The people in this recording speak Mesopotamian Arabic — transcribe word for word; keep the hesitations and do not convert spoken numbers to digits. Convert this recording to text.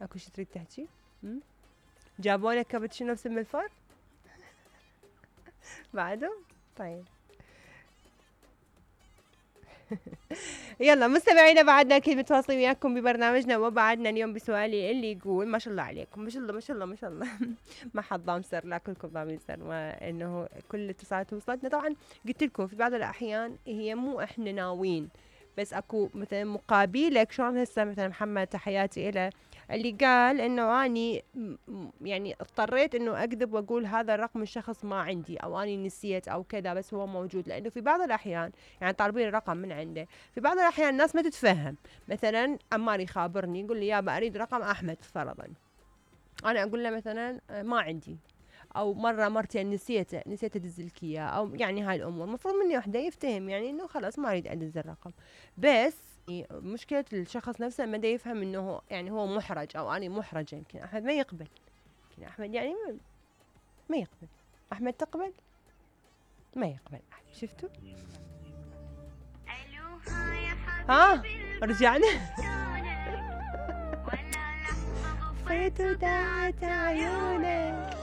اكو شي تريد تحكي؟ جابولك كابتشينو بسم الفور؟ بعده؟ طيب. يلا مستمعينا بعدنا اكيد متواصلين وياكم ببرنامجنا، وبعدنا اليوم بسؤالي اللي يقول ما شاء الله عليكم، ما شاء الله ما شاء الله ما شاء الله. ما حد ضام سر، لا كلكم ضامين سر، وانه كل الاتصالات وصلتنا. طبعا قلت لكم في بعض الاحيان هي مو احنا ناويين، بس اكو مثلا مقابلك. شلون هسه مثلا محمد تحياتي له اللي قال انه اني يعني اضطريت انه اكذب واقول هذا الرقم الشخص ما عندي، او اني نسيت او كذا، بس هو موجود. لانه في بعض الاحيان يعني طالبين الرقم من عنده، في بعض الاحيان الناس ما تتفهم. مثلا عمار يخابرني يقول لي يابا اريد رقم احمد فرضا، انا اقول له مثلا ما عندي، او مره مرتين نسيته نسيت ادز لك اياه، او يعني هاي الامور المفروض مني وحده يفتهم يعني انه خلاص ما اريد ادز الرقم. بس مشكله الشخص نفسه ما دا يفهم انه يعني هو محرج، او اني محرجه. يمكن احمد ما يقبل، يمكن احمد يعني ما, ما يقبل. احمد تقبل؟ ما يقبل احمد. شفتوا؟ ها رجعنا. فيت وداعت عيونك.